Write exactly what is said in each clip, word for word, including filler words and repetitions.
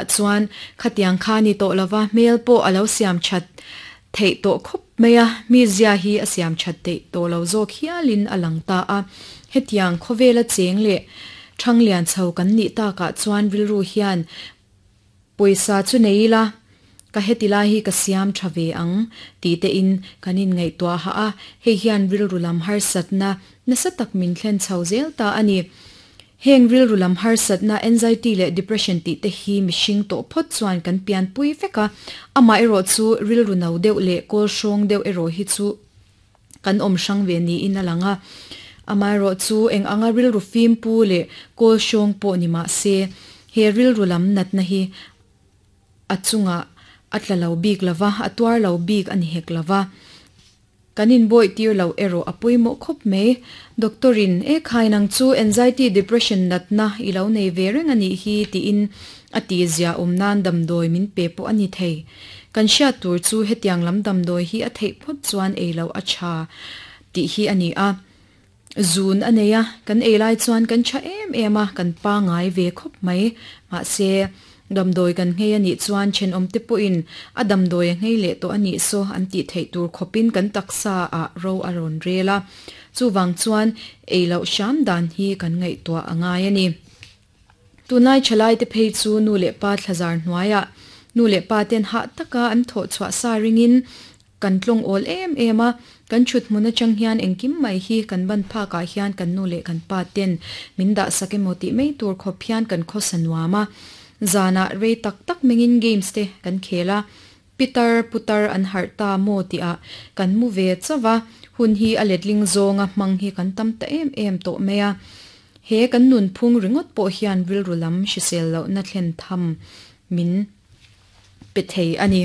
Chuan khatiang kha ni tawh lova hmel pawh a lo siam that theih tawh khawp mai a, mi zia hi a siam that theih tawh lo zawk hialin a lang ta a. Hetiang khawvela cheng leh thanglian chho kan nih takah chuan rilru hian pawisa chu nei ila ka heti lai hi ka siam tha ve ang ti te in kan in ngaihtuah ha a, hei hian rilru lam harsatna nasa tak min thlen chho zel ta a ni. Heng rilru lam harsatna anxiety leh depression ti te hi mihring tawh phawt chuan kan pian pui vek a, amah erawh chu rilru no deuh leh kawl hrawng deuh erawh hi chu kan awm hrang ve niin a lang a. Amah erawh chu eng anga rilru fim pu leh kawl hrawng pawh ni mah se he rilru lam natna hi a chungah a tla lo bik lova, a tuar lo bik a ni hek lova. Kan in bawih tir lo erawh a pawimawh khawp mai. Doctorin e khai nang chu anxiety depression natna i lo nei ve reng a nih hi tiin a ti zia awm nan damdawi min pe pawh a ni thei. Kan hriat tur chu hetiang lam damdawi hi a theih phawt chuan ei lo a tha tih hi a ni a. Zun a nei a, kan ei lai chuan kan tha em em a, kan pangai ve khawp mai. Mahse damdawi kan nghei a nih chuan thenawm te pawhin a damdawi a nghei leh tawh a nih saw an tih theih tur khawpin kan taksa ah ro a rawn rel a. Chuwang chuan ei loh hram dan hi kan ngaihtuah a ngai a ni. Tunlai thalai te phei chu nu leh pa thlazar hnuaiah nu leh pa ten hah taka an thawh chhuah sa ringin kan tlawng awl em em a, kan thut hmun atang hian engkim mai hi kan ban phakah hian kan nu leh kan pa ten min dah sak emaw tih mai tur khawp hian kan khawsa nuam a. Zana rei tak tak mengin games te kan khel a, pitar putar an harh ta maw tih ah kan mu ve chawa, hun hi a letling zawnga hmang hi kan tam ta em em tawh mai a. He kan nun phung ringawt pawh hian rilru lam hrisel loh na thlen tham min pe thei a ni.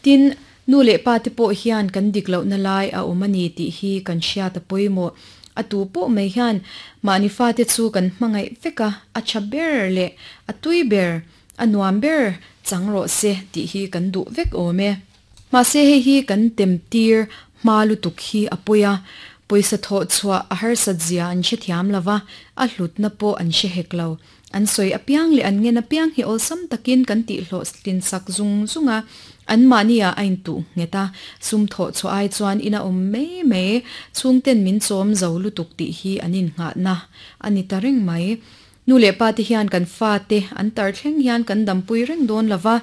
Tin nu leh pa te pawh hian kan dik loh na lai a awm a ni tih hi kan hriat a pawimawh. A tu pawh mai hian mahni fa te chu kan hmangaih vek a, a tha ber leh a tui ber a nuam ber chang rawh se tih hi kan duh vek awm e. Mahse hei hi kan tem tir hma lutuk hi a pawi a, pawisa thawh chhuah a harsat zia an hrethiam lova, a hlutna pawh an hre hek lo. An sawi apiang leh an ngen apiang hi awlsam takin kan tih hlawh tlin sak zung zung a, an mahni ah a intuh nghet a, sum thawh chhuah ai chuan ina awm mai mai chhungten min chawm zo lutuk tih hi an innghahna a ni ta reng mai. Nu leh pa te hian kan fa te an tar thleng hian kan dampui reng dawn lova,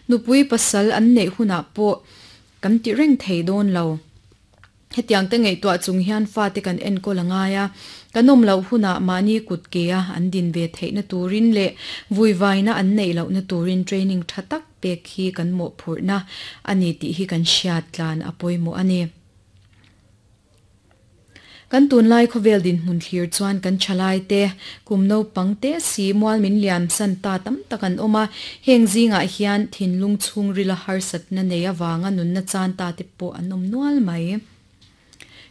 nupui pasal an neih hunah pawh kan ti reng thei dawn lo. Hetiang te ngaihtuah chung hian fa te kan enkawl a ngai a, kan awm loh hunah mahni kut ke a an din ve theihna turin leh vuivaina an neih lohna turin training tha tak pek hi kan mawhphurhna a ni tih hi kan hriat tlan a pawimawh a ni. Kan tunlai khawvel dinhmun thlir chuan kan thalai te kum naupang te si mual min liam san ta tam tak an awm a, heng zingah hian thinlung chhungrila harsatna nei awanga nunna chan ta te pawh an awm nual mai.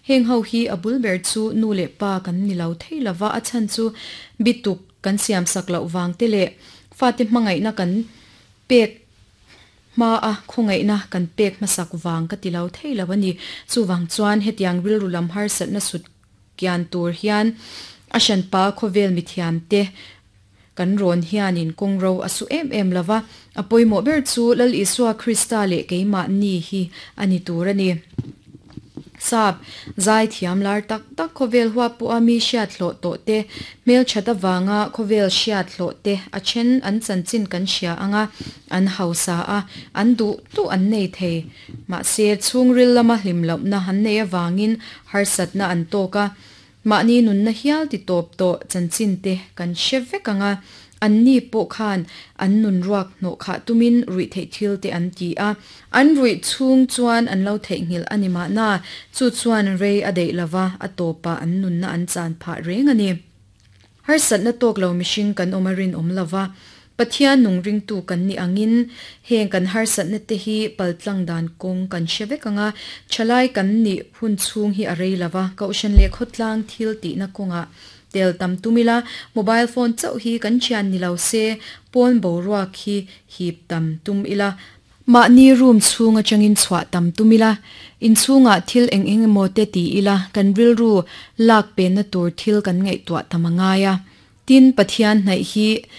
Heng ho hi a bul ber chu nu leh pa kan ni lo thei lova, a chan chu bituk kan siam sak loh wang te leh fa te hmangaihna kan pek hma a khawngaihna kan pek hmasak wang ka ti lo thei lo ani. Chuwang chuan hetiang rilru lam harsatna sut kian tur hian a hran pa khawvel mithiam te kan rawn hianin kawngro a su em em lova, a pawimawh ber chu Lal Isua Krista leh keimah ni hi ani tur ani. Sap zai thiam lar tak tak khawvel huap pawh a mi hriat hlawh tawh te hmel that awanga khawvel hriat hlawh te a then an chanchin kan hria anga an hausa a, an duh tu an nei thei. Mahse chhungril lama hlim lohna an nei awangin harsatna an tawk a, mahni nunna hial ti tawp tawh chanchin te kan hre vek anga, an ni pawh khan an nun ruak hnawh khah tumin ruih theih thil te an ti a, an ruih chhung chuan an lo theihnghilh ani mahna chu chuan rei a deih lova, a tawpa an nunna an chan phah reng ani. Harsatna tawk lo mihring kan awm a rin awm lova, Pathian nung ringtu kan ni angin heng kan harsatna te hi paltlang dan kawng kan hre vek anga, thalai kan ni hun chhung hi a rei lova, kohhran leh khawtlang thil tihna kawngah tel tam tumila, mobile phone chauh hi kan thian ni lo se pawn boruak hi hip tam tum ila, mahni room chhung atangin chhuah tam tumila, in chhungah thil eng eng emaw te ti ila, kan rilru lak pen na tur thil kan ngaihtuah tam angai a. Tin, Pathian hnaih hi